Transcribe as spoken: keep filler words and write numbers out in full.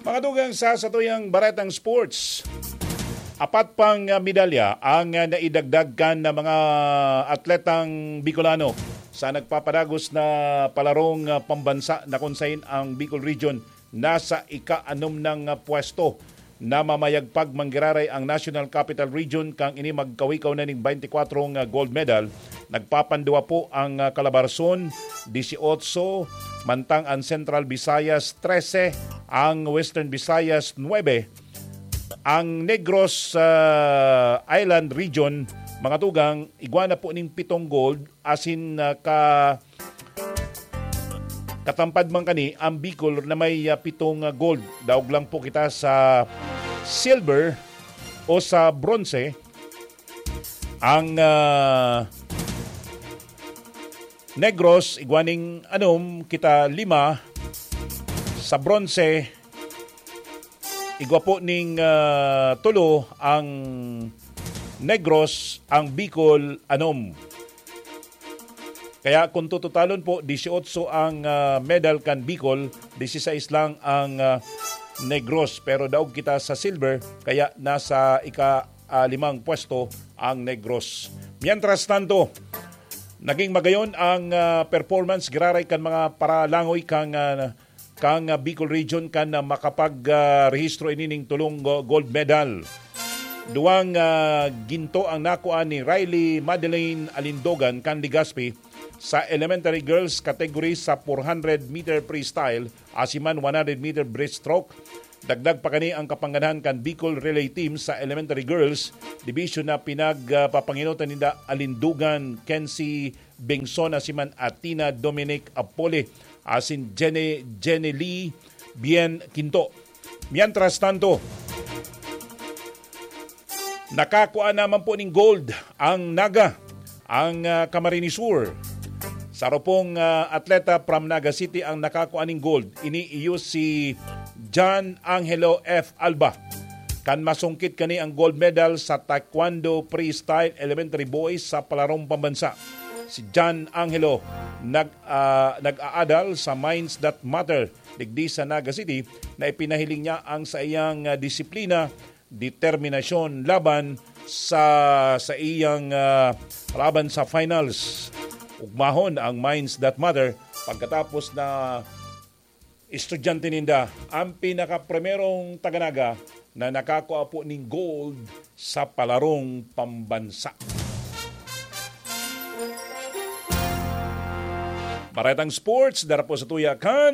Mga dugang sa satuyang baretang sports, apat pang, ah, medalya ang, ah, naidagdag kan na mga atletang Bicolano sa nagpapadagos na palarong, ah, pambansa na kung sain ang Bicol Region nasa ika-anom nang, ah, pwesto. Namamayagpag manggiraray ang National Capital Region kan ini magkawikaw na ning twenty-four nga gold medal. Nagpapanduwa po ang, ah, Calabarzon, dieciocho, mantang ang Central Visayas, trese, ang Western Visayas, nuebe, ang Negros, ah, Island Region, mga tugang, igwa na po ning pitong gold, asin, ah, ka-, katampad man kani ang Bicol na may, ah, pitong, ah, gold. Daog lang po kita sa silver o sa bronze. Ang, ah, Negros, igwa ning anom, kita lima. Sa bronze, igwa po ning, ah, tulo ang Negros, ang Bicol, anom. Kaya kung tututalon po, dieciocho ang, ah, medal kan Bicol, dieciséis lang ang, ah, Negros. Pero daog kita sa silver, kaya nasa ika, ah, limang pwesto ang Negros. Mientras tanto, naging magayon ang, ah, performance giraray kan mga paralangoy kan, ah, kan, ah, Bicol Region kan, ah, makapag, ah, rehistro ini ning tulong go-, gold medal. Duwang, ah, ginto ang nakuha ni Riley Madeleine Alindogan kan Legazpi sa elementary girls category sa four hundred meter freestyle, asin man one hundred meter breaststroke. Dagdag pa kani ang kapangganahan kan Bicol Relay Team sa elementary girls division na pinagpapangenotan ninda Alindogan Kenzie Bengson, asin man Athena Dominic Apole, asin Jenny, Jenny Lee Bien Quinto. Mientras tanto, nakakua naman po ning gold ang Naga, ang, ah, Camarines Sur. Saro pong, ah, atleta from Naga City ang nakakua ning gold. Ini iyo si John Angelo F Alba. Kan masungkit kani ang gold medal sa Taekwondo Freestyle Elementary Boys sa palarong pambansa. Si John Angelo nag, ah, nag-aadal sa Minds That Matter digdi sa Naga City na ipinahiling niya ang saiyang, ah, disiplina, determinasyon laban sa, sa iyang, ah, laban sa finals. Ugmahon ang Minds That Matter pagkatapos na estudyante ninda ang pinakaprimerong taga-Naga na nakakua po ning gold sa palarong pambansa. Baretang sports, dara po sa tuya kan